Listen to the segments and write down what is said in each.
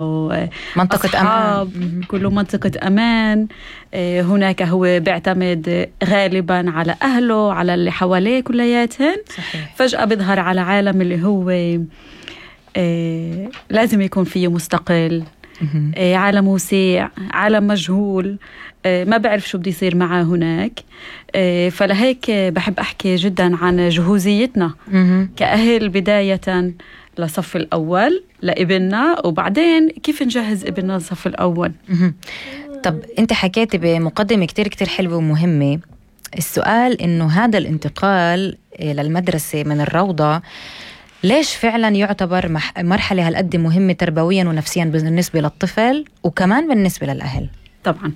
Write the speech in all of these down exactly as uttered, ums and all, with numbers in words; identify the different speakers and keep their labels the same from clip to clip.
Speaker 1: منطقة أمان،
Speaker 2: كله منطقة أمان. هناك هو بيعتمد غالبا على أهله، على اللي حواليه كلياتهن.
Speaker 1: صحيح.
Speaker 2: فجأة بيظهر على عالم اللي هو لازم يكون فيه مستقل، عالم وسيع، عالم مجهول، ما بعرف شو بدي يصير معه هناك. فلهيك بحب أحكي جدا عن جهوزيتنا كأهل، بداية لصف الأول لابننا، وبعدين كيف نجهز ابننا لصف الأول.
Speaker 1: طب أنت حكيتي بمقدمة كتير كتير حلوة ومهمة. السؤال إنه هذا الانتقال للمدرسة من الروضة ليش فعلا يعتبر مرحلة هالقد مهمة تربويا ونفسيا بالنسبة للطفل وكمان بالنسبة للأهل؟
Speaker 2: طبعا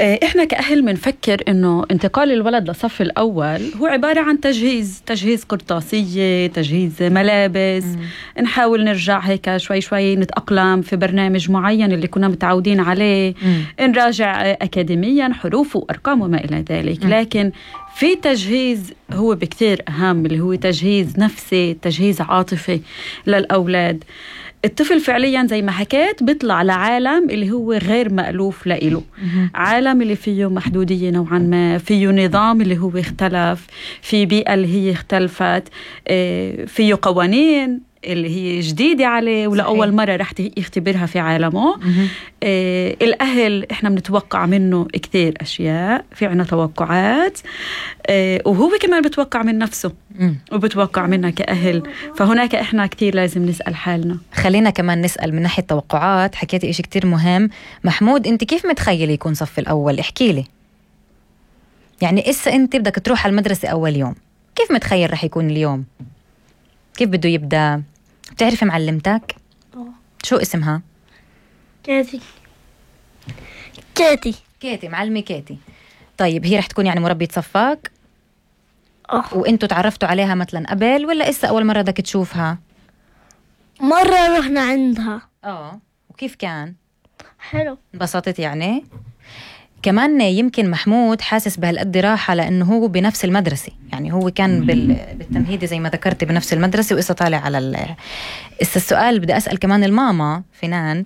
Speaker 2: إحنا كأهل منفكر إنه انتقال الولد لصف الأول هو عبارة عن تجهيز تجهيز قرطاسية، تجهيز ملابس. م. نحاول نرجع هيك شوي شوي نتأقلم في برنامج معين اللي كنا متعودين عليه. م. نراجع أكاديميا حروف وأرقام وما إلى ذلك. م. لكن في تجهيز هو بكتير أهم، اللي هو تجهيز نفسي، تجهيز عاطفي للأولاد. الطفل فعليا زي ما حكيت بيطلع لعالم اللي هو غير مألوف لإله، عالم اللي فيه محدودية نوعا ما، فيه نظام اللي هو اختلف، في بيئة اللي هي اختلفت، فيه قوانين اللي هي جديدة عليه ولأول مرة رح يختبرها في عالمه. آه الأهل إحنا بنتوقع منه كتير أشياء، في عنا توقعات، آه وهو كمان بتوقع من نفسه وبتوقع منا كأهل. فهناك إحنا كتير لازم نسأل حالنا.
Speaker 1: خلينا كمان نسأل من ناحية توقعات. حكيتي إشي كتير مهم. محمود، أنت كيف متخيل يكون صف الأول؟ احكي لي. يعني إسا أنت بدك تروح على المدرسة أول يوم، كيف متخيل رح يكون اليوم؟ كيف بده يبدأ؟ بتعرفي معلمتك؟
Speaker 3: أوه.
Speaker 1: شو اسمها؟
Speaker 3: كيتي. كيتي.
Speaker 1: كيتي، معلمة كيتي. طيب هي رح تكون يعني مربية صفاك؟
Speaker 3: أوه.
Speaker 1: وإنتوا تعرفتوا عليها مثلا قبل ولا إسا أول مرة بدك تشوفها؟
Speaker 3: مرة رحنا عندها.
Speaker 1: آه، وكيف كان؟
Speaker 3: حلو.
Speaker 1: انبسطت يعني؟ كمان يمكن محمود حاسس بهالقد راحة لأنه هو بنفس المدرسة، يعني هو كان بالتمهيدي زي ما ذكرت بنفس المدرسة وإسا طالع على ال... إسا السؤال بدي أسأل كمان الماما فنان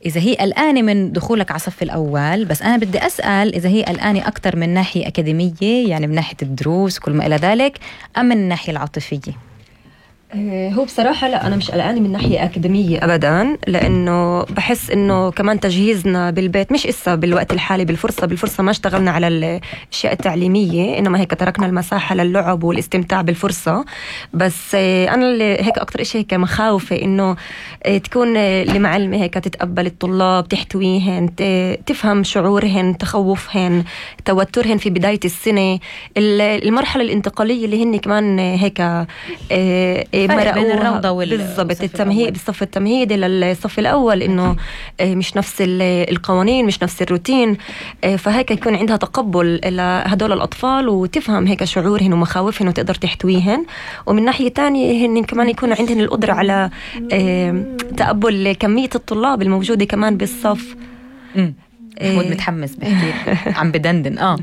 Speaker 1: إذا هي قلقانة من دخولك على صف الأول، بس أنا بدي أسأل إذا هي قلقانة أكتر من ناحية أكاديمية، يعني من ناحية الدروس وكل ما إلى ذلك، أم من الناحية العاطفية؟
Speaker 4: هو بصراحة لا، أنا مش قلقانة من ناحية أكاديمية أبداً، لأنه بحس إنه كمان تجهيزنا بالبيت مش إسا بالوقت الحالي بالفرصة بالفرصة ما اشتغلنا على الأشياء التعليمية، إنما هيك تركنا المساحة للعب والاستمتاع بالفرصة. بس أنا اللي هيك أكتر إشي هيك مخاوفة إنه تكون المعلمة هيك تتقبل الطلاب، تحتويهن، تفهم شعورهن، تخوفهن، توترهن في بداية السنة، المرحلة الانتقالية اللي هن كمان هيك
Speaker 1: فرق بين الروضة
Speaker 4: بالضبط التمهيد بالصف التمهيدي للصف الأول، إنه مش نفس القوانين، مش نفس الروتين. فهيك يكون عندها تقبل لهدول الأطفال وتفهم هيك شعورهن ومخاوفهن وتقدر تحتويهن. ومن ناحية تانية هن كمان يكون عندهن القدرة على تقبل كمية الطلاب الموجودة كمان بالصف.
Speaker 1: محمود متحمس بحكي عم بدندن. اه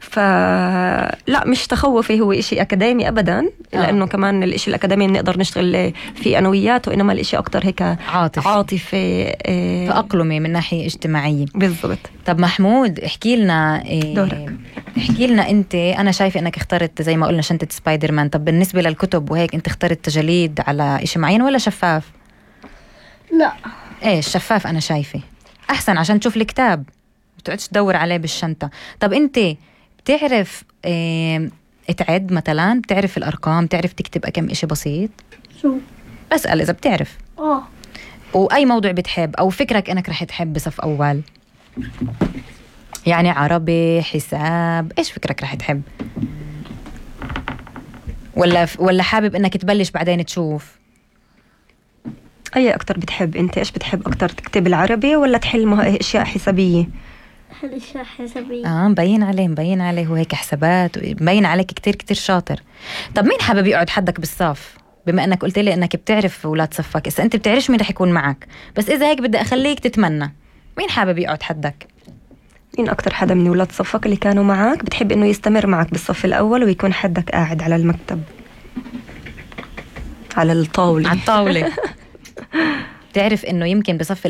Speaker 4: فلا مش تخوفي هو إشي أكاديمي أبدا، لأنه كمان الإشي الأكاديمي نقدر نشتغل في أنوياته، إنما الإشي أكتر هيك
Speaker 1: عاطفي
Speaker 4: عاطفي
Speaker 1: تأقلمي من ناحية اجتماعية.
Speaker 4: بالضبط.
Speaker 1: طب محمود احكي لنا
Speaker 4: دورك.
Speaker 1: احكي لنا أنت، أنا شايفة أنك اخترت زي ما قلنا شنطة سبايدر مان. طب بالنسبة للكتب وهيك أنت اخترت تجليد على إشي معين ولا شفاف؟
Speaker 3: لا
Speaker 1: ايش شفاف، أنا شايفة أحسن عشان تشوف الكتاب بتقعدش تدور عليه بالشنطة. طب أنت بتعرف اه تعد مثلا؟ بتعرف الأرقام؟ بتعرف تكتب كم إشي بسيط؟
Speaker 3: شو
Speaker 1: بسأل إذا بتعرف.
Speaker 3: آه
Speaker 1: وأي موضوع بتحب أو فكرك أنك رح تحب بصف أول؟ يعني عربي، حساب، إيش فكرك رح تحب؟ ولا ولا حابب أنك تبلش بعدين تشوف؟
Speaker 4: أي أكتر بتحب أنت؟ إيش بتحب أكتر، تكتب العربي ولا تحل أشياء حسابية؟
Speaker 3: حل أشياء حسابية.
Speaker 1: آه مبين عليه مبين عليه وهيك حسابات، مبين عليك كتير كتير شاطر. طب مين حابب يقعد حدك بالصف؟ بما أنك قلت لي أنك بتعرف أولاد صفك، إذا أنت بتعرفش مين رح يكون معك، بس إذا هيك بدي أخليك تتمنى، مين حابب يقعد حدك؟
Speaker 4: مين أكتر حدا من أولاد صفك اللي كانوا معك بتحب إنه يستمر معك بالصف الأول ويكون حدك قاعد على المكتب على الطاولة
Speaker 1: على الطاولة؟ بتعرف إنه يمكن بصف